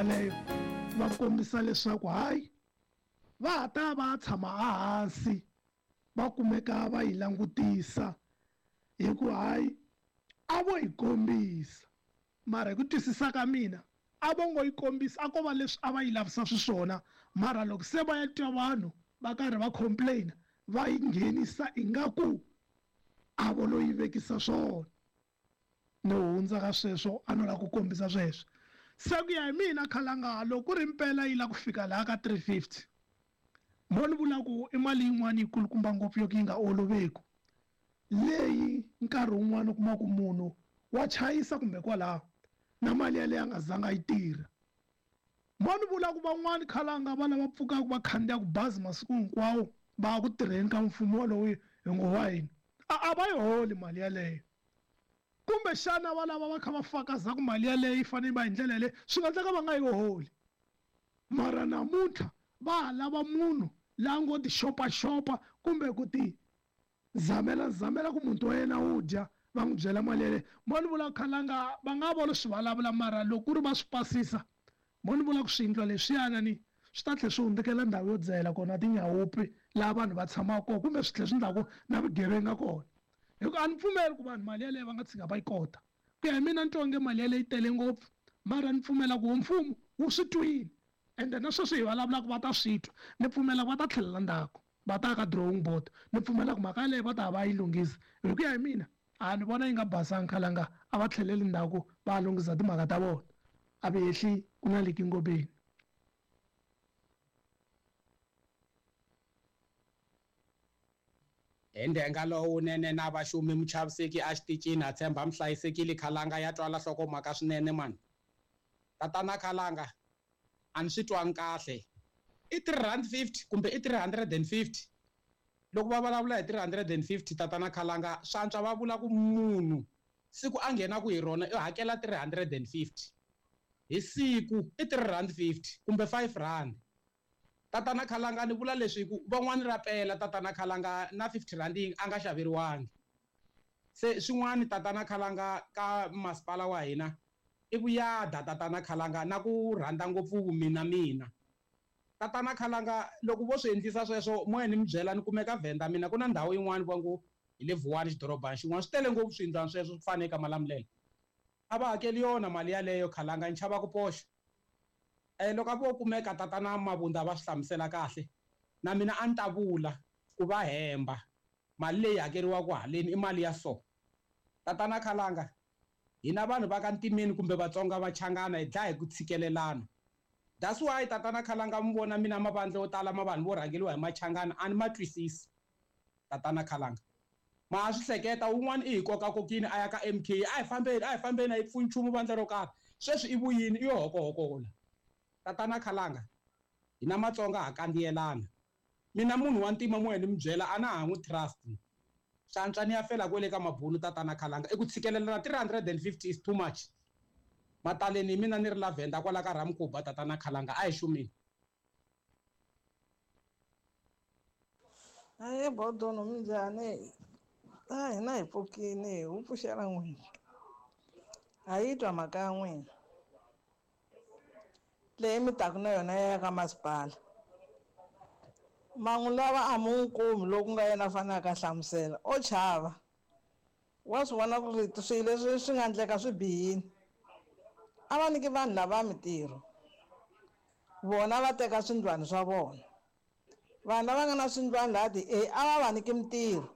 yaleyo va kombisa leswaku hayi va ha ta va tshama ehansi va kumeka va yi langutisa hi ku hayi a vo yi kombisa mara hi ku twisisa ka mina a vo ngo yi kombisa a ko va leswi a va yi lavisa swiswona mara loko se va ya twa vanhu va karhi va complain va yi nghenisa ingaku a vo lo yi vekisa swona no hundza ka sweswo a no lava ku kombisa sweswo se ku ya hi mina khalanga loko ku ri mpela yi lava ku fika laha ka 350 mo ni vula ku i mali yin'wana yi kulukumba ngopfu yo ka yi nga oloveku leyi nkarhi wun'wana u kuma ku munhu wa chayisa kumbe kwalaho na mali yaleyo a nga zanga yi tirha mo ni vula ku van'wani khalanga va lava pfukaka va khandziyaka bazi masiku hinkwawo va ya ku tirheni ka mfumo wolowo hi ngo wa hina a a va yi holi mali yaleyo kumbexana va lava va kha va fakaza ku mali yaleyo yi fanele yi va hi ndlela yaleyo swi nga endleka va nga yi holi mara namuntlha va ha lava munhu la ngo ti xopaxopa kumbe ku ti zamela zamela ku muti wa yena wu dya va n'wi byela mali yaleyo mo ni vula khalanga va nga vona swi vulavula mara loko ku ri va swi pasisa mo ni vula ku swiyindlo leswiyana ni swi ta tlhela swi hundzukela ndhawu yo dzahela kona tinyawupi laha vanhu va tshamaka kona kumbe swi tlhela swi ndlaku na vugevenga kona hi ku a ni pfumeli ku vanhu mali yaleyo va nga tshika va yi kota ku ya hi mina ni twa onge mali yaleyo yi tele ngopfu mara ni pfumela ku mfumo wu swi twile ende na sweswi hi vulavulaka va ta swi twa ni pfumela ku va ta tlhelela ndzhaku va ta ka drawing board ni pfumela ku mhaka yaleyo va ta va yi lunghisa hi ku ya hi mina a ni vona yi nga basanga khalanga a va tlheleli ndzhaku va lunghisa timhaka ta vona a va hehli ku na liki ngobeni. Hi ndhenga lowunene na vaxumi muchaviseki a xitichini ha tshemba mi hlayisekile khalanga ya twala hlokomhaka swinene mani tatana khalanga a ni swi twangi kahle i R3.50 kumbe i 350 loko va vulavula hi 350 tatana khalanga swa antswa va vula ku munhu siku a nghenaku hi rona i hakela 350 hi siku i R3.50 kumbe R5. Tatana Khalanga ni vula leswi hi ku van'wani ra pela tatana Khalanga na R50 yi a nga xaveriwangi. Se swin'wani tatana Khalanga ka masipala wa hina i vuyada tatana Khalanga na ku rhandza ngopfu vumina mina. Tatana Khalanga loko vo swi endlisa sweswo mo ya ni mi byela ni kumeka Venda mina ku na ndhawu yin'wani va ngo hi le Vuwani xidorobana xin'wana swi tele ngopfu swiyindlwana sweswo swi fane ka Malamulele. A va hakeli yona mali yaleyo Khalanga ni chava ku poxa. Loko a vo kumeka tatana Mabunda va swi hlamusela kahle na mina a ni ta vula ku va hemba mali leyi hakeriwaka haleni i mali ya so. Tatana Khalanga hina vanhu va ka Ntimeni kumbe Vatsonga va Changana hi dlaya hi ku tshikelelana. That's why tatana Khalanga mi vona mina mavandla yo tala ma vanhu vo rhangeriwa hi Machangana a ni ma twisisi. Tatana Khalanga ma ha swi hleketa wun'wana i hi kokakokini a ya ka MK a hi fambeni a hi fambeni a yi pfuni nchumu vandla ro karhi sweswi i vuyini i yo hokohokola Tatana Khalanga hina Matsonga ha kandziyelana mina munhu wa ntima mo ya ni mi byela a na ha n'wi trust swa antswa ni ya fela kwele ka mabunu Tatana Khalanga i ku tshikelelana 350 is too much mataleni hi mina ni ri la Venda kwala ka Ramkuba Tatana Khalanga a hi xumeni. Ahee Bodono minjhani? A hina hi pfukile hi wu pfuxela n'wina ha yi twa mhaka ya n'wina leyi mi taka na yona ya ka masipala ma n'wi lava a mi n'wi kumi loko ku nga yena a faneleke a hlamusela o chava wa swi vona ku ri swilo leswi swi nga endleka swi bihile a va nyiki vanhu lava mintirho vona va teka swindlwana swa vona vanhu lava nga na swindlwana laha ti-A a va va nyiki mintirho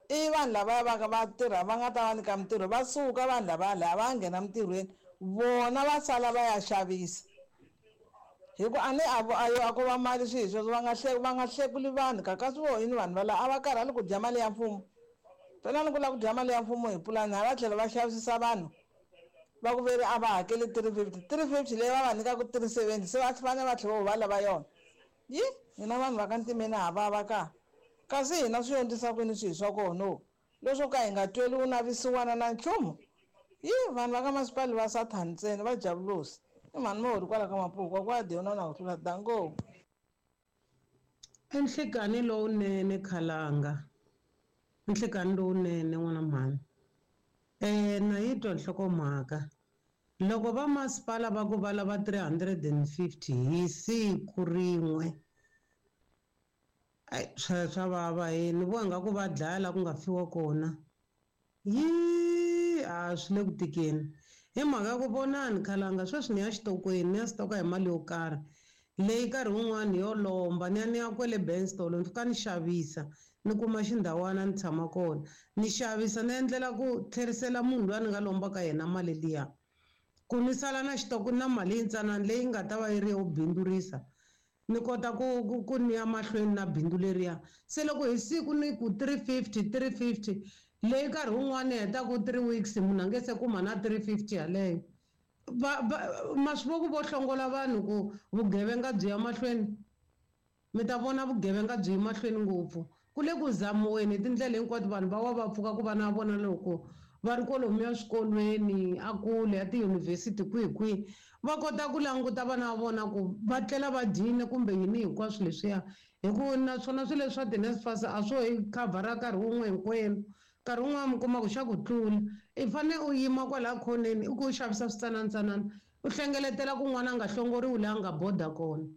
i vanhu lavaya va va tirha va nga ta va nyika mintirho va suka vanhu lavaya laya va ya nghena mintirhweni vona va sala va ya xavisa hi ku a ni a vo a yo a ko va mali swi hi sweswo va nga va nga hlekuli vanhu ka kasi vo yini vanhu va la a va karhali ku dya mali ya mfumo phela ni ku lava ku dya mali ya mfumo hi pulani hala tlhelo va xavisisa vanhu va ku veri a va hakeli 350 350 leyi va va nyikaka 370 se va fanele va tlhela va lava yona yi hina vanhu va ka ntimeni ha vava ka kasi hina swi yondzisa kwini swihi swa kona leswo ka hi nga tweli u navisiwana na nchumu yi vanhu va ka masipali va sathani ntsena va javulosi i mhani mohori kwala ka mapuku kwa diona na ku tlula dango. Enhlekani lowunene khalanga enhlekani lowunene n'wana mhani na yi twa nhlokomhaka. Loko va masipala va ku va lava 350 hi siku rin'we, ai swa vava he, ni vona nga ku va dlaya la ku nga fiwa kona. Yi a swi le ku tikeni hi mhaka ya ku vonani khalanga sweswi ni ya xitokweni, ni ya stoka hi mali yo karhi leyi nkarhi wun'wani yo lomba, ni ya ni ya kwele Benstolo ni fika ni xavisa ni kuma xindhawana ni tshama kona ni xavisa ni endlela ku tlherisela munhu loyi a ni nga lomba ka yena mali liya, ku ni sala na xitoko na mali yintsanana leyi nga ta va yi ri yo bindzurisa, ni kota ku ni ya mahlweni na bindzu leriya. Se loko hi siku ni ku 350 350 leyi nkarhi wun'wani hetaku 3 weeks munhu a nge se kuma na 350 yaleyo. Ma swi vo ku vo hlongola vanhu ku vugevenga byi ya mahlweni, mi ta vona vugevenga byi ya mahlweni ngopfu. Ku le ku zamiweni hi tindlela hinkwato, vanhu va wa va pfuka ku vana va vona loko va ri kwalomuya swikolweni, a kule a tiyunivhesiti kwihi kwihi, va kota ku languta vana va vona ku va tlela va dyile kumbe yini hinkwaswo leswiya. Hi ku naswona swilo leswi swa ti-NSFAS a swo hi khavhara nkarhi wun'we hinkwenu, nkarhi wun'wana mi kuma ku xa ku tlula, i fane u yima kwalaya khoneni i ku u xavisa switsananatsanana, u hlengeletela ku n'wana a nga hlongoriwi laha a nga boda kona.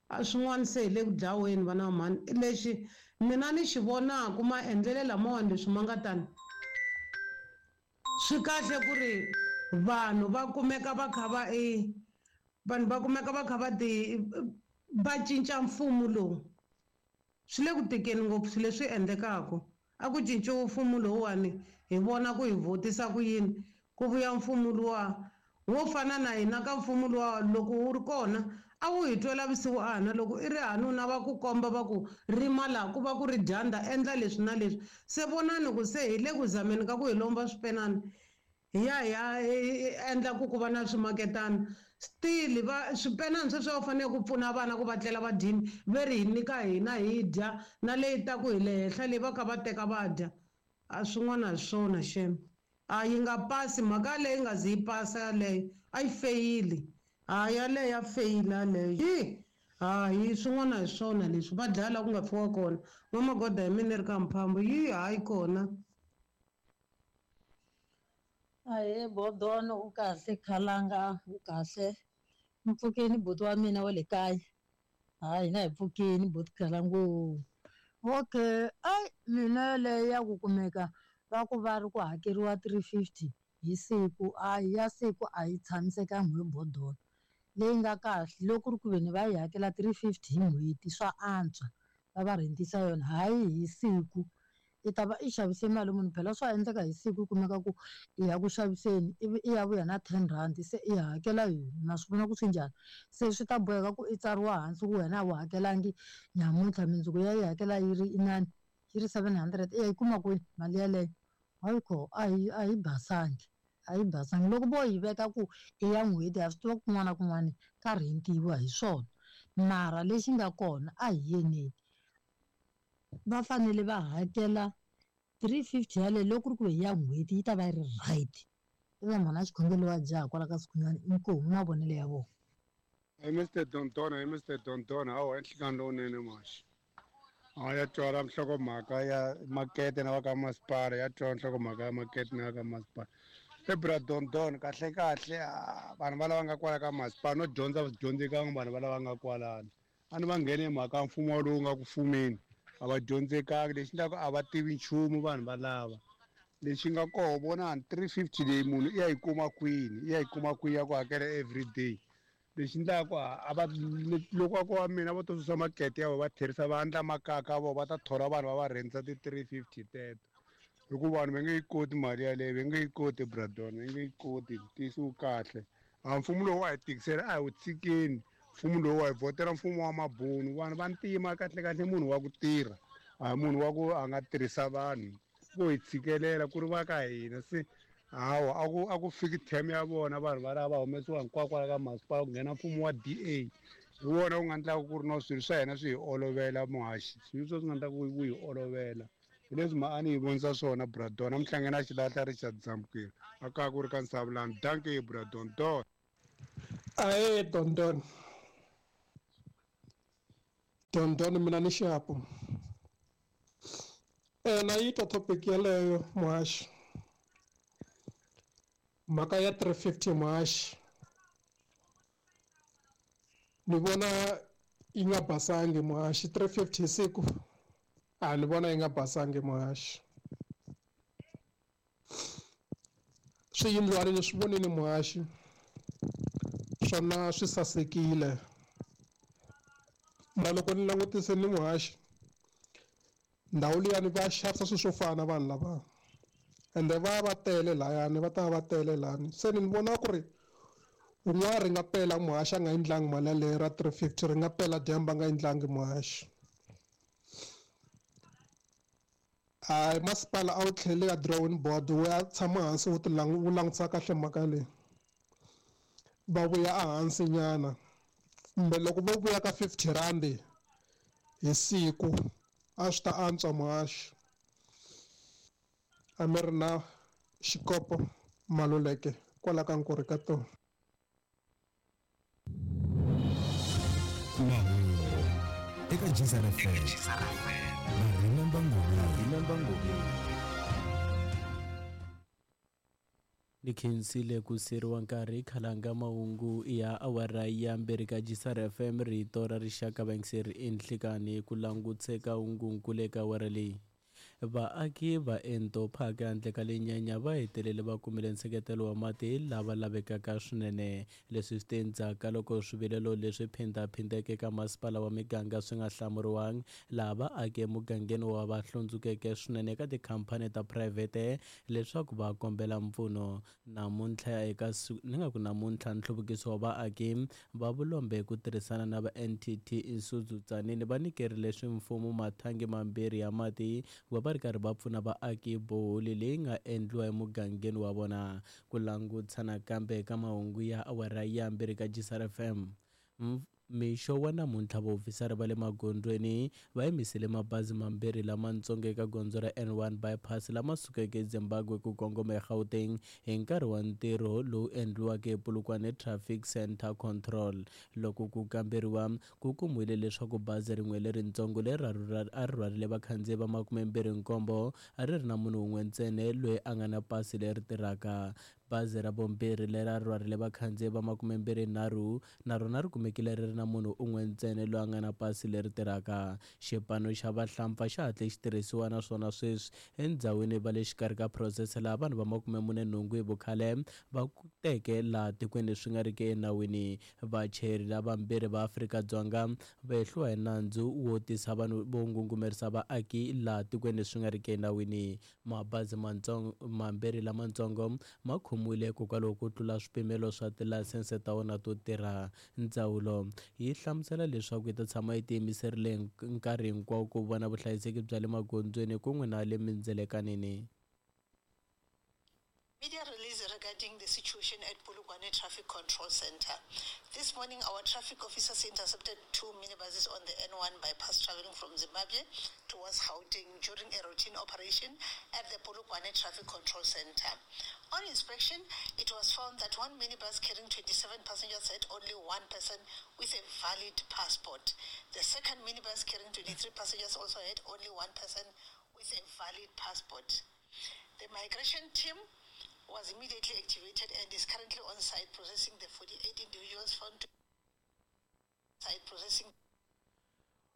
A swin'wana se hi le ku dlaweni vana va mhani. Lexi mina ni xi vonaka maendlelo lamawani leswi ma nga tani, swi kahle ku ri vanhu va kumeka va kha va e vanhu va kumeka va kha va ti va cinca mfumo lowu. Swi le ku tikeni ngopfu swilo leswi endlekaka. A ku cinciwe mfumo lowuwani hi vona ku hi vhotisa ku yini, ku vuya mfumo luwa wo fana na hina ka mfumo luwa loko wu ri kona a wu hi twela vusiwana, loko i ri hanuna va ku komba va ku rima laha ku va ku ri dyandza, endla leswi na leswi. Se vonani ku se hi le ku zameni ka ku hi lomba swipenani hi ya hi ya endla ku ku va na swimaketana, still va swipenani sweswi va fanele ku pfuna vana ku va tlela va dyini, ve ri hi nyika hina hi dya na leyi ta ku hi le henhla leyi va kha va teka va dya. A swin'wana hi swona xem, a yi nga pasi mhaka leyi nga zi yi pasa yaleyo, a yi feyili. A yaleyo ya feyila yaleyo. Yi hayi swin'wana hi swona leswi va dlaya laha ku nga fiwa kona. N'wamagoda hi mina ri ka Mphambo, yi hayi kona. Ahee Bodon, u kahle Khalanga, u kahle. Mpfukeni buti wa mina wa le kaya. Hayi hina hi pfukeni buti Khalango. Okay, ai mina leyi ya ku kumeka va ku va ri ku hakeriwa 350 hi siku, a ya siku a yi tshamisekanga hi Bodon. Leyi nga kahle loko ku ri ku veni va yi hakela 350 hi n'hweti swa antswa, va va rhentisa yona hayi hi siku. I ta va i xavise mali munhu, phela swa endleka hi siku u kumeka ku i ya ku xaviseni ivi i ya vuya na 10 rand se i hakela yini, ma swi vona ku swi njhani. Se swi ta boheka ku i tsariwa hansi ku wena a wu hakelangi nyamuntlha, mundzuku ya yi hakela yi ri inani yi ri 700, i ya yi kuma kwihi mali yeleyo? Hayi kho a yi basangi, a yi basangi. Loko vo yi veka ku i ya n'hweti ha swi tiva kun'wana na kun'wana ka rhentiwa hi swona, mara lexi nga kona a hi yeneni va fanele va hakela 350 yaleyo loko ku ri ku hi ya n'hweti yi ta va yi ri right. I va mhana xikhongelo wa jaha kwala ka Sikhunyani, inkomu mavonelo ya vona. Hi Mr Dontona, hi Mr Dontona, hawa enhlikani lowunene maxi. A ya twala nhlokomhaka ya makete na va ka masipala, ya twala nhlokomhaka ya makete na va ka masipala. E bra Dondon, kahle kahle vanhu va lava nga kwala ka masipala no dyondza va dyondzekanga vanhu va lava nga kwalano. A ni va nghene mhaka mfumo lowu nga ku fumeni, a va dyondzekangi, lexi endlaka a va tivi nchumu vanhu va lava. Lexi nga koho vonani 350 leyi munhu i ya yi kuma kwini, i ya yi kuma kwini ya ku hakela everyday. Lexi endlaka a va loko va ku wa mina va to susa makete ya vona va tlherisa va endla makaka vo va ta thola vanhu va va rhentisa ti 350 teto. Hikuva vanhu va nge yi koti mali yaleyo, va nge yi koti Bradon, va nge yi koti, ntiyiso wu kahle. A mfumo lowu wa hi tikisela a hi wu tshikeni, mfumo lowu wa hi vhotela mfumo wa mabunu, vanhu va ntima kahle kahle munhu wa ku tirha, a hi munhu wa ku a nga tirhisa vanhu, vo hi tshikelela ku ri va ka hina. Se hawa a ku fiki term ya vona vanhu va lava va humesiwa hinkwako kwala ka masipala ku nghena mfumo wa DA. Hi wona wu nga endlaka ku ri no swilo swa hina swi hi olovela muhaxi, swilo leswi swi nga endlaka ku wu hi olovela. Hi leswi ma a ni yi vonisa swona Bradon, a mi na xilahla Richard Zamukeri, a kaya ku ri ka Nsavulani. Dankie Bradon, don. Ahee Dondon. Dondon mina ni xapu. Na yi twa topic yeleyo muhaxi. Mhaka ya 350 muhaxi ni vona yi nga basangi muhaxi. 350 hi siku a ni vona yi nga basangi muhaxi. Swiyindlwani ni swi vonile muhaxi, swona swi sasekile, mara loko ni langutise ni muhaxi ndhawu liyani va xavisa swilo swo fana vanhu lava, ende va va tele layani, va ta va tele lani. Se ni vona ku ri un'wana ri nga pela muhaxi a nga endlangi mali yaleyo ra 350, ri nga pela dyambu a nga endlangi muhaxi. Hayi, masipala a wu tlheli ka drawing board wu ya tshama hansi wu wu langutisa kahle mhaka leyi, va vuya ehansi nyana, kumbe loko vo vuya ka 50 rand hi siku a swi ta antswa muhaxi. A mi ri na xikopo Maluleke kwala ka Nkurhi ka tona. Mahungu eka Jizara FM na Remember Ngobeni. Ni khensile ku siriwa nkarhi khalanga mahungu ya awara ya mbirhi ka Jisara FM rito ra rixaka vayingiseri enhlikani ku languteka hungunkulu eka awara leyi. Vaaki va Ento Park handle ka Lenyanya va hetelele va kumile nseketelo wa mati lava lavekaka swinene. Leswi swi te endzhaku ka loko swivilelo leswi phindhaphindheke eka masipala wa miganga swi nga hlamuriwangi, laha vaaki emugangeni wa va hlundzukeke swinene eka tikhamphani ta phurayivhete leswaku va kombela mpfuno. Namuntlha eka ni nga ku namuntlha nhluvukiso wa vaaki va vulombe hi ku tirhisana na va NTT Isuzu Tzaneen va nyikerile swimfumo mathangi mambirhi ya mati ku va va ri karhi va pfuna vaaki boholi leyi nga endliwa emugangeni wa vona. Ku langutisa nakambe eka mahungu ya awara ya mbirhi ka Jisara FM. Mixo wa namuntlha vaofisari va le magondzweni va yimisile mabazi mambirhi lamatsongo eka gondzo ra N1 bypass lama sukeke eZimbabwe ku kongoma eGauteng hi nkarhi wa ntirho lowu endliwaka ePolokwane Traffic Centre Control. Loko ku kamberiwa, ku kumiwile leswaku bazi rin'we leritsongo leri a ri rhwarile vakhandziyi va 27 a ri ri na munhu wun'we ntsena loyi a nga na pasi leri tirhaka. Bazi ra vumbirhi leri a ri rhwarile vakhandziyi va 23 na rona ri kumekile ri ri na munhu un'we ntsena loyi a nga na pasi leri tirhaka. Xipano xa vahlampfa xa hatle xi tirhisiwa naswona sweswi endzhawini va le xikarhi ka phurosese laha vanhu va 48 hi vukhale va teke laha tikweni swi nga riki enawini. Vachayeri lavambirhi va Afrika-Dzonga va hehliwa hi nandzu wo tisa vanhu vo ngungumerisa vaaki laha tikweni swi nga riki enawini. Mabazi mambirhi lamatsongo ma khomiwile hikokwalaho ko tlula swipimelo swa tilayisense ta wona to tirha. Ndzawulo yi hlamusela leswaku yi ta tshama yi tiyimiserile nkarhi hinkwawo ku vona vuhlayiseki bya le magondzweni kun'we na le mindzelekanini. Media release regarding the situation at Polokwane Traffic Control Center. This morning, our traffic officers intercepted 2 minibuses on the N1 bypass traveling from Zimbabwe towards Gauteng during a routine operation at the Polokwane Traffic Control Center. On inspection, it was found that one minibus carrying 27 passengers had only one person with a valid passport. The second minibus carrying 23 passengers also had only one person with a valid passport. The migration team was immediately activated and is currently on site processing the 48 individuals found to site processing.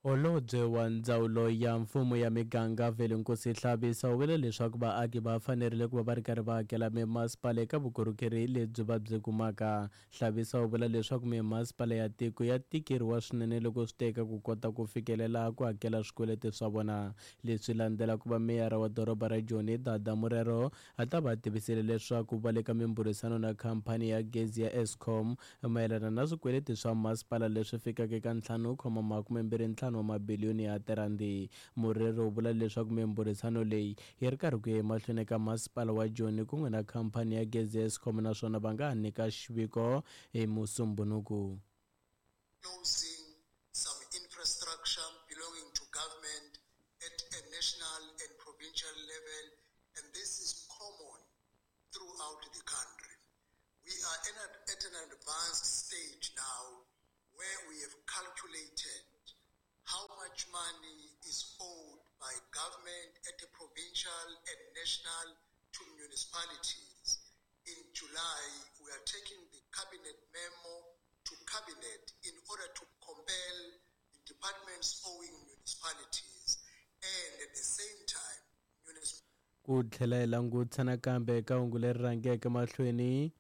Holobye wa ndzawulo ya mfumo ya miganga Velenkosini Hlabisa u vule leswaku vaaki va fanerile ku va va ri karhi va hakela mimasipala eka vukorhokeri lebyi va byi kumaka. Hlabisa u vula leswaku mimasipala ya tiko ya tikeriwa swinene loko swi teka ku kota ku fikelela ku hakela swikweleti swa vona. Leswi landzela ku va meyara wa doroba ra Joni Dada Morero a ta va tivisile leswaku va le ka mimbhurisano na khamphani ya gezi ya Eskom mayelana na swikweleti swa masipala leswi fikaka eka 5.25 wa mabiliyoni ya tirandi. Morero u vula leswaku mimbhurisano leyi yi ri karhi ku ya emahlweni eka masipala wa Joni kun'we na khamphani ya gezi ya Eskom naswona va nga ha nyika xiviko hi Musumbhunuku. Closing some infrastructure belonging to government at a national and provincial level, and this is common throughout the country. We are at an advanced stage now where we have calculated how much money is owed by government at the provincial and national to municipalities. In July, we are taking the cabinet memo to cabinet in order to compel the departments owing municipalities and at the same time municipalities Ku tlhela hi langutisa nakambe eka hungu leri rhangeke mahlweni,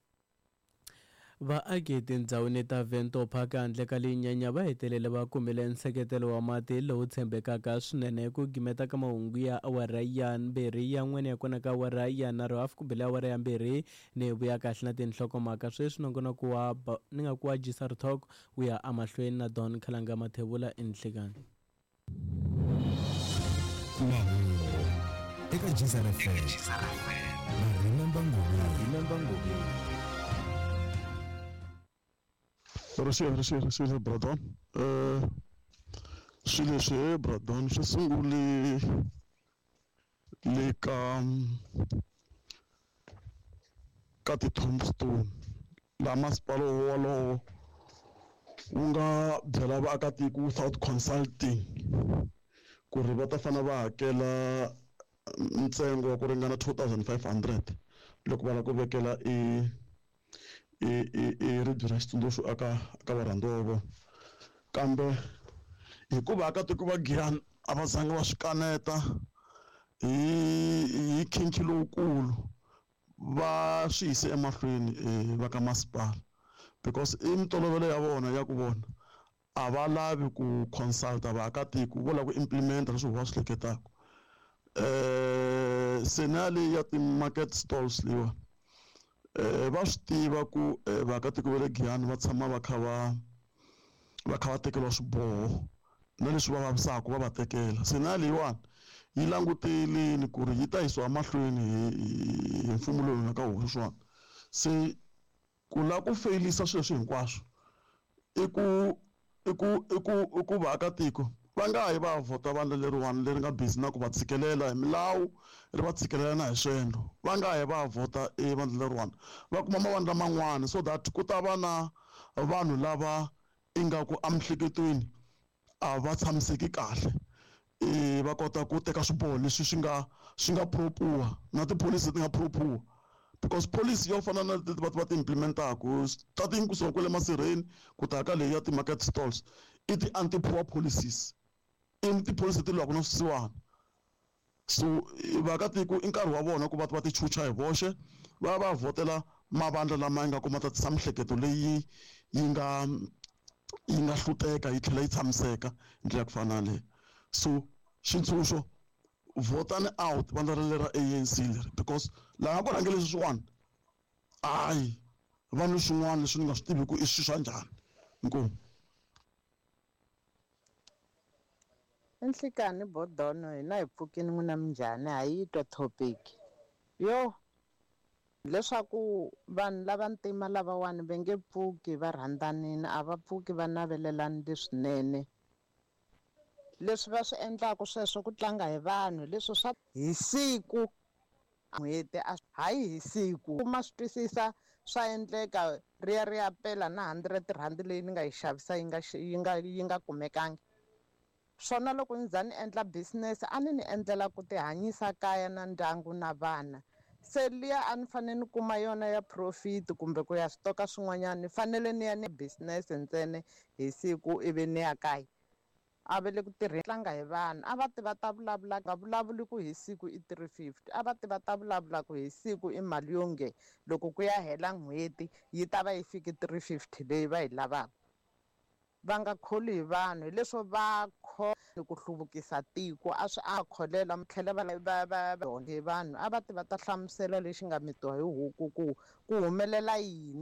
vaaki etindhawini ta Vento Park handle ka Linyanya va hetelele va kumile nseketelo wa mati lowu tshembekaka swinene. Ku gimeta ka mahungu ya awara ya mbirhi ya n'wene ya kona ka awara ya nharhu hafu ku bile awara ya mbirhi ni vuya kahle na tinhlokomhaka sweswi nongonoko wa ni nga ku wa Jisar Talk wu ya emahlweni na Don Khalanga Mathebula enhlekani. Mahungu eka Jizar FM na Remember Ngobeni. Risiya risiya Bradon, swilo leswi he Bradon swi sungule le ka ti-tombstone laha masipala wolowo wu nga byela vaakatiko without consulting ku ri va ta fanele va hakela ntsengo wa ku ringana 2500 loko va lava ku vekela i i i i ribye ra xitsundzuxo aka varhandziwa va vona. Kambe hikuva vaakatiko va Giyani a va zanga va swi kaneta hi khinkhi lowukulu, va swi yise emahlweni va ka masipala because i mintolovelo ya vona ya ku vona a va lavi ku consult-a vaakatiko, vo lava ku implement-a leswi va swi hleketaka. Se na leyi ya ti-market stalls leyiwani, va swi tiva ku vaakatiko va le Giyani va tshama va kha va tekeriwa swiboho na leswi va vavisaka va va tekela. Se na leyiwani yi languteleni ku ri yi ta yisiwa mahlweni hi mfumo lowu nga ka wona sweswiwani. Se ku lava ku feyilisa swilo leswi hinkwaswo i ku vaakatiko va nga yi va ya vhota vandla leriwani leri nga busy na ku va tshikelela hi milawu, ri va tshikelela na hi swiendlo. Va nga yi va ya vhota e vandla leriwani, va kuma mavandla man'wani so that ku ta va na vanhu lava ingaku emiehleketweni a va tshamiseki kahle, va kota ku teka swiboho leswi swi nga proper na tipholisi leti nga proper, because policy yo fana na leti va ti implementaku starting kusuka kwale masirheni ku ta ka leyi ya ti-market stalls i ti-anti poor policies, i tipholisi leti lwaka na swisiwana. So vaakatiko i nkarhi wa vona ku va ti chucha hi voxe, va va vhotela mavandla lama nga kuma ta tisa miehleketo leyi yi nga hluteka yi tlhela yi tshamiseka hi ndlela ya ku fana na leyo. So xitshunxo, vhotani out vandla rale ra ANC leri, because laha ku rhangele sweswiwani hayi vanhu swin'wana leswi ni nga swi tivi ku i swilo swa njhani. Inkomu. Nhlikani bodono, hina hi pfukini, n'wina minjhani? Ha yi twa topic yo leswaku vanhu lava ntima lavawani va nge pfuki va rhandzanini, a va pfuki va navelelani leswinene. Leswi va swi endlaka sweswo ku tlanga hi vanhu, leswi swa hi siku n'hweti a hayi hi siku ma swi twisisa, swa endleka ri ya pela na R100 leyi ni nga yi xavisa yi nga kumekangi swona. Loko ni za ni endla business a ni endlela ku ti hanyisa kaya na ndyangu na vana, se liya a ni fanele ni kuma yona ya profit kumbe ku ya switoka swin'wanyana, ni fanele ni ya ni business ntsena hi siku ivi ni ya kaya. A va le ku tirheni, tlanga hi vanhu. A va ti va ta vulavula, nga vulavuli ku hi siku i 350, a va ti va ta vulavula ku hi siku i mali yo nge loko ku ya hela n'hweti yi ta va yi fiki 350 leyi va yi lavaka. Va nga kholi hi vanhu, hileswo va ku hluvukisa tiko a swi a kholela mi tlhela va hi vanhu. A va ti va ta hlamusela lexi nga mitiwa hi huku ku humelela yini.